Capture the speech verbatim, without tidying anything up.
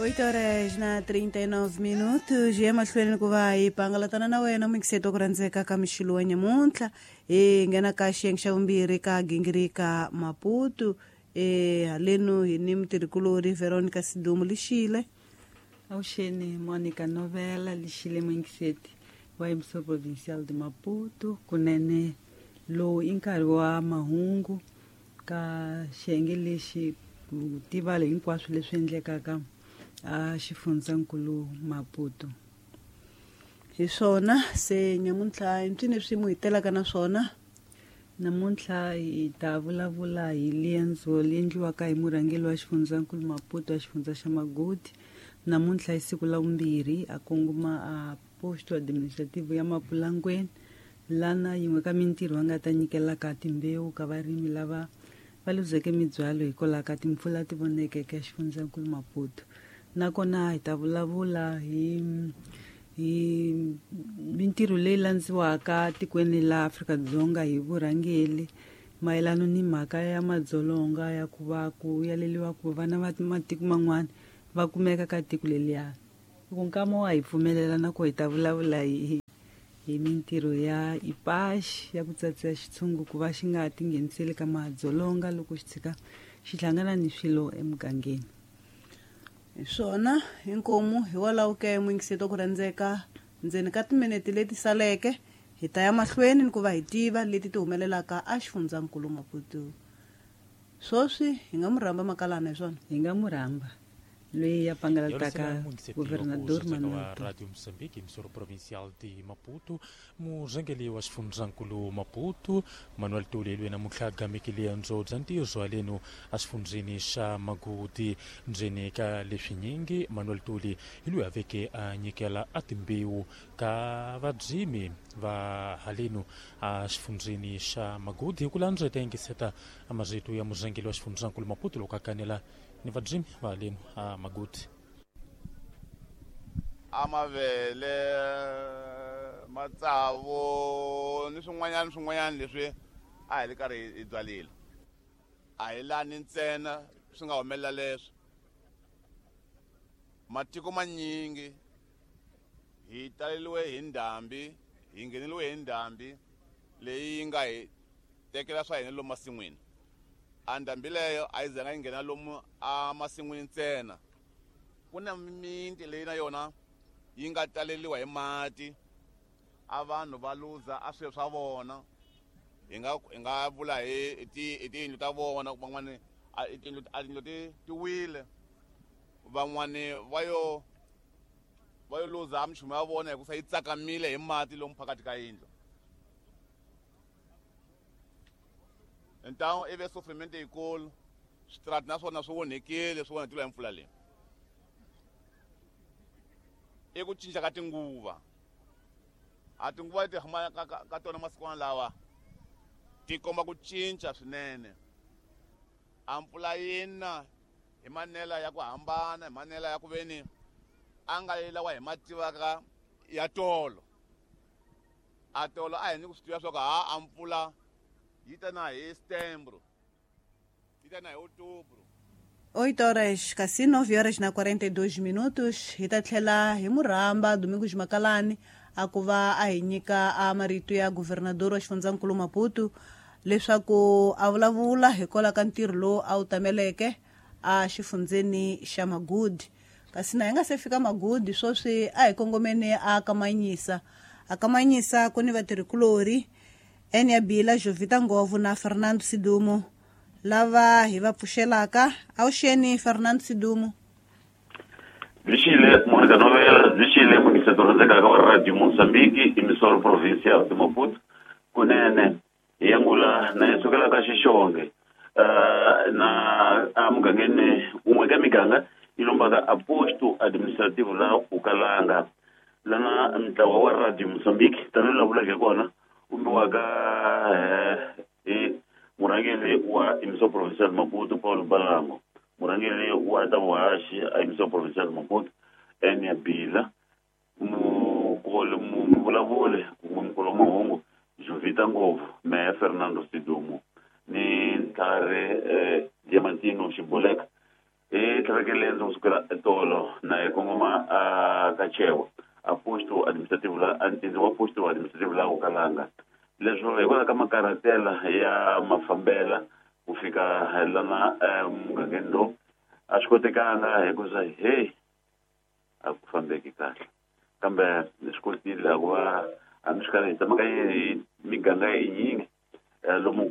Oito horas na trinta e nove minutos hi emahlweni ku va hi pangalatana na wena muyingiseti ku rhandzeka ka mixilo wa nyamuntlha hi nghena ka xiyenge xa vumbirhi ka gingirika Maputo e haleno hi ni mutirhikulori Veronica Sidumo Lixile. Avuxeni Monica Novela Lixile muyingiseti wa Emissão Provincial de Maputo kunene lowu i nkarhi wa mahungu ka xiyenge lexi ku tiva hinkwaswo leswi endlekaka a xifundzankulu Maputo. Hi swona se nyamuntlha mpfini swi mu hitelaka na swona. Namuntlha hi ta vulavula hi liendzo leri endliwaka hi murhangeri wa xifundzankulu Maputo wa xifundza xa Magodi. Namuntlha hi siku la vumbirhi a kongoma a posto administrativo ya Mapulangweni lana yin'we ka mintirho va nga ta nyikelaka timbewu ka varimi lava va luzeke mibyalo hikwalaho ka timpfula ti vonekeke xifundzankulu Maputo. Nakona hi ta vulavula hi hi mintirho leyi landziwaka tikweni la Afrika-Dzonga hi vurhangeri mayelana ni mhaka ya madzolonga ya ku va ku yaleliwa ku vana va matiko man'wana va kumeka ka tiko leliya. Loko nkama wa hi pfumelela na ku hi ta vulavula hi hi mintirho ya I P A X ya ku tsatsa xitshungu ku va xi nga tingheniseli ka madzolonga loko xi tshika xi hlangana ni swilo emugangeni. Hi swona inkomu hikwalaho ke muyingiseti ku rhandzeka ndzeni ka timinete leti saleke hi ta ya mahlweni ni ku va hi tiva leti ti humelelaka a xifundzankulu Maputo. Swoswi hi nga mu rhamba Makalana hi swona? Hi nga mu rhamba loyi ya pangalataka governador Manuel Radio Moçambique, emissora provincial de Maputo, murhangeri wa xifundzankulu Maputo Manuel Tuli loyi namuntlha a gamekile liendzo bya ntirho haleno exifundzeni xa Magodi. Ndzeni ka leswinyingi Manuel Tuli hi loyi a veke a nyikela a timbewu ka vadzimi va haleno exifundzeni xa Magodi. Hi ku landza hi ta yingiseta a marito ya murhangeri wa xifundzankulu Maputo loko a kanela ni vadzimi va haleno a Magodi. A mavele, matsavu ni swin'wanyana swin'wanyana leswi a hi ri karhi hi byarile. A hi lani ntsena swi nga humelela leswi. Matiko manyingi hi taleriwe hi ndhambi, hi ngheneriwe hi ndhambi leyi yi nga hi tekela swa hina lomu masin'wini. A ndhambi leyo a yi zanga yi nghena lomu a masin'wini ntsena. Ku na mimiti leyi na yona yi nga taleriwa hi mati, a vanhu va luza a swilo swa vona. Hi nga hi nga vula hi ti hi tiyindlu ta vona, van'wani a tiyindlu a tiyindlu ti ti wile, van'wani va yo va yo luza minchumu ya vona hikusa yi tsakamile hi mati lomu phakathi ka yindlu. Então i ve sofrimento yikulu, switarati na swona swi onhekile, swi onhakile hi mpfula leyi. I ku cinca ka tinguva. A tinguva leti huma ka, ka, ka tona masikwana lawa ti komba ku cinca swinene. A mpfula yi na hi manela ya ku hambana, hi manela ya ku veni a nga lawa hi ma tivaka ya tolo. A tolo a hi ni ku swi tiva swa ku ha a mpfula yi ta na hi setembro, yi ta na hi outubro. Oito horas, kasi nove horas na quarenta e dois minutos. Hi ta tlhela hi murhamba Domingos Makalani a ku va a hi nyika a marito ya governador wa xifundzankulu Maputo leswaku a vulavula hikwalaho ka ntirho lowu a wu tameleke a xifundzeni xa Magodi. Kasi na hi nga se fika Magodi sweswi a hi kongomeni a Kamanyisa. A Kamanyisa ku ni vatirhikulori Enia Bila, Jovita Ngovu na Fernando Sidumo lava hi va pfuxelaka. Avuxeni Fernando Sidumo. Lixile Monica Novela, lixile muyingiseti rhandzekaka wa Radio Moçambique, emissora provincial de Maputo. Kunene hi angula na hi sukela ka Xixonge uh, na a mugangeni wun'we ka miganga yi lombaka a posto administrativo la Ukalanga lana ntlawa wa Radio Moçambique tanihi laha vuleke kona vumbiwaka hi murhangeri wa Emissão Provincial Maputo Paulo Balango, murhangeri wa ta vuhaxi a Emissão Provincial Maputo Enia Bila, mukolo muvulavuli kumbe mukolo wa mahungu Jovita Ngovu, meya Fernando Sidumo ni Ntlhari eh, Diamantino Xiboleka. Hi tlhavekele ndzi kusukela etolo na hi kongoma a ka Chewa a posto administrative la antindzi wa posto administrative la Ukalanga. Leswo hikwalaho ka makarhatela ya mafambela ku fika lana mugangeni lowu a swi kotekanga hikuza hey a ku fambeki kahle kambe ni swi kotile ku va hambi swi karhi hi tsamaka hi miganga yinyingi lomu.